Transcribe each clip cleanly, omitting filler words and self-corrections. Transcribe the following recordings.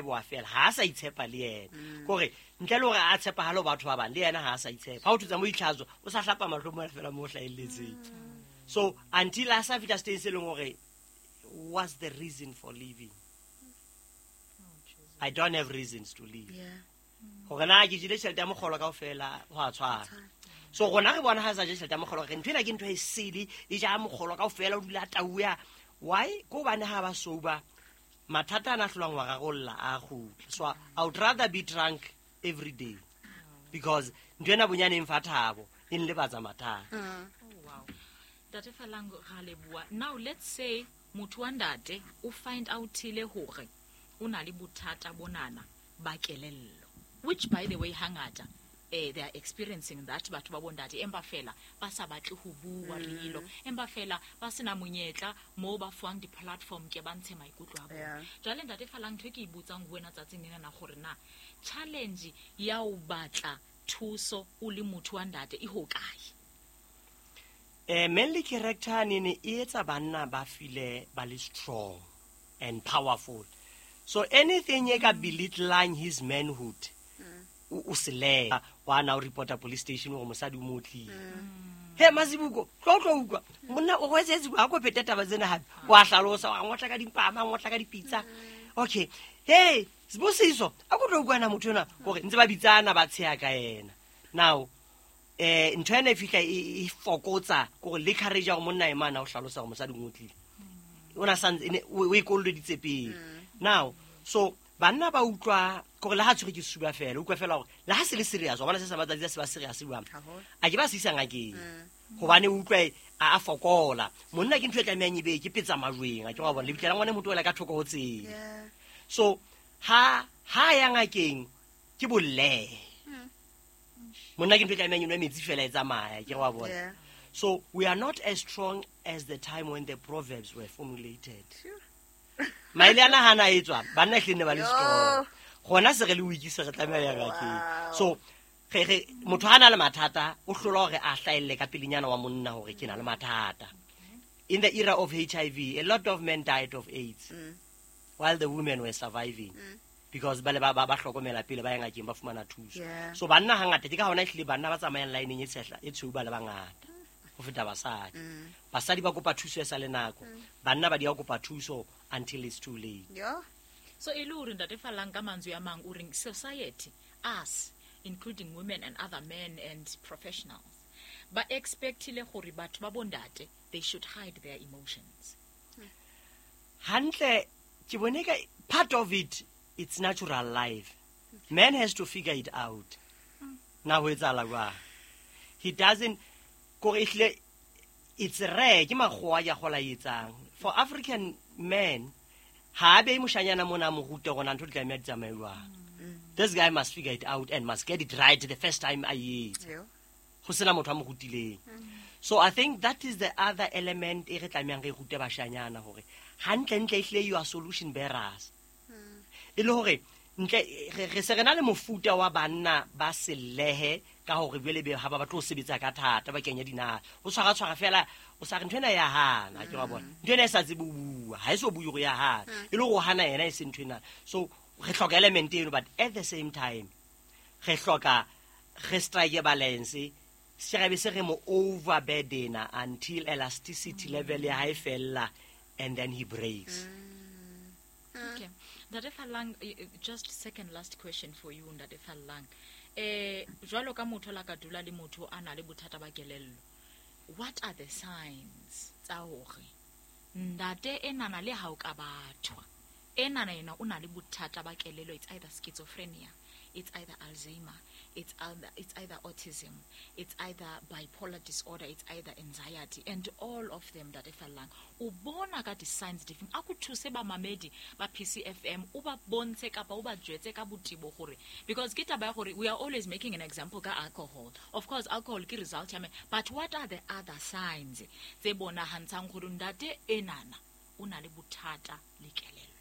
hae bo a fela, ha a sa itshepa le yena. Kore ntle le hore a tshepahale ho batho ba bang, le yena ha a sa itshepa. Ha o thutsa mo itlhatswa, o sa hlapa mahlo mona fela mo hlahelletseng. So until a sa fihla stage se leng hore what's the reason for living? I don't have reasons to live. Hore na ke jele tjhelete ya mokgolo kaofela, ho a tshwana. So rona re bona ha sa je tjhelete ya mokgolo, re ntho ena ke ntho e sele, e ja mokgolo kaofela, o dula a tauya. Why? Ke hobane ha ba sober, mathata ana a hlolang wa rarolla a kgutla. So I would rather be drunk every day because ntho ena bonyane e mfa thabo, e nlebatsa mathata. Oh, wow. Ntate Falang, ra leboha. Now let's say motho wa ntate o find out-ile hore o na le bothata bonana ba kelello, which by the way hangata they are experiencing that batho ba bontate, empa fela ba sa batle ho bua rilo, empa fela ba sena monyetla mo ba fuwang di-platform ke ba ntshe maikutlo a bona. Jwale ntate Falang, ntho e ke e botsang ho wena tsatsing lena na gore na challenge ya ho batla thuso o le motho wa ntate e ho kae? Manly character ne e etsa banna ba feel ba le strong and powerful. So anything e ka belittling his manhood, o sele wa na o reporta police station hore mosadi o mo otlile. He Mazibuko, tlo tlo utlwa. Monna o hwetse ha ko phete taba tsena hape. Wa hlalosa, wa ngotla ka dimpama, wa ngotla ka dipitsa. Okay. Hey, Sibusiso, a ko tlo utlwa na motho ena hore ntse ba bitsana ba tsheha ka yena. Now, ntho ena e fihla e fokotsa kore le courage ya hore monna e mana o hlalosa hore mosadi o ngotlile. O na santse o e kolleditse pele. Now, so banna ba utlwa kore le ha tshwere ke suba fela, utlwa fela hore le ha se le serious, wa bona se sa matsatsi a se ba serious jwang. A ke ba se isa ngakeng. Hobane o utlwa a fokola. Monna ke ntho e tlamehang e be ke petsa majweng, a ke wa bona lebitla la ngwana motho o la ka thoko ho tsela. So ha ya ngakeng ke bolle. Monna ke ntho e tlamehang e nwe metsi fela e tsamaya, ke wa bona. So we are not as strong as the time when the proverbs were formulated. Maele ana hana e tswa, banna ehlile ne ba le strong. Gona se re le weak se re tlameha ya ngakeng. So re motho ha na le mathata, o hlola hore a hlahelle ka pelenyana wa monna hore ke na le mathata. In the era of HIV, a lot of men died of AIDS while the women were surviving. Because ba le ba hlokomela pele ba ya ngakeng ba fumana thuso. So banna hangata ke ka hona ehlile banna ba tsamayang line e tshehla e tshweu ba le bangata ho feta basadi. Basadi ba kopa thuso e sa le nako. Banna ba di ya kopa thuso until it's too late. So e le hore ntate Falang ka mantswe a mang o reng society, us, including women and other men and professionals, ba expectile gore batho ba bondate they should hide their emotions. Hantle ke bone ka part of it, it's natural life. Man has to figure it out. Na ho etsahala jwang? He doesn't, kore ehlile it's rare ke makgowa ya gola etsang. For African men, ha a behe moshanyana mona a mo rute hore na ntho di tlameha di tsamaye jwang. This guy must figure it out and must get it right the first time a etsa. Ho sena motho a mo rutileng. So I think that is the other element e re tlamehang re rute bashanyana hore hantle-ntle ehlile you are solution bearers. E le hore ntle re se re na le mofuta wa banna ba sellehe ka hore jwale be ha ba batle ho sebetsa ka thata ba kenya dinaha. O tshwara tshwara fela o sa re ntho ena ya hana, ke wa bona. Ntho ena e sa tsebe ho bua, ha e so bue hore ya hana. E le hore o hana yena e se ntho ena. So re hloka element eno, but at the same time re hloka re strike balance. Se re be se re mo overburden until elasticity level ya hae fella and then he breaks. Okay. Ntate Falang, just second last question for you, Ntate Falang. Jwalo ka motho la ka dula le motho a na le bothata ba kelello, what are the signs tsa hore ntate enana le ha o ka bathwa, enana yena o na le bothata ba kelello, it's either schizophrenia, it's either Alzheimer, it's either autism, it's either bipolar disorder, it's either anxiety, and all of them, Ntate Falang, o bona ka di-signs difeng? A ko thuse ba mamedi ba PCFM, o ba bontshe kapa o ba jwetse ka botebo gore, because ke taba ya gore we are always making an example ka alcohol. Of course, alcohol ke result ya me, but what are the other signs tse bonahantshang gore ntate enana o na le bothata le kelello?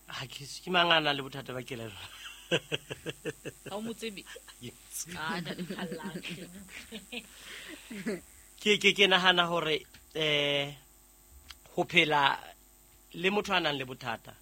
Ha ke ke mang a nang le bothata ba kelello? Ha o mo tsebe? Yes. Ah, ntate Falang. Ke nahana hore, ho phela le motho a nang le bothata,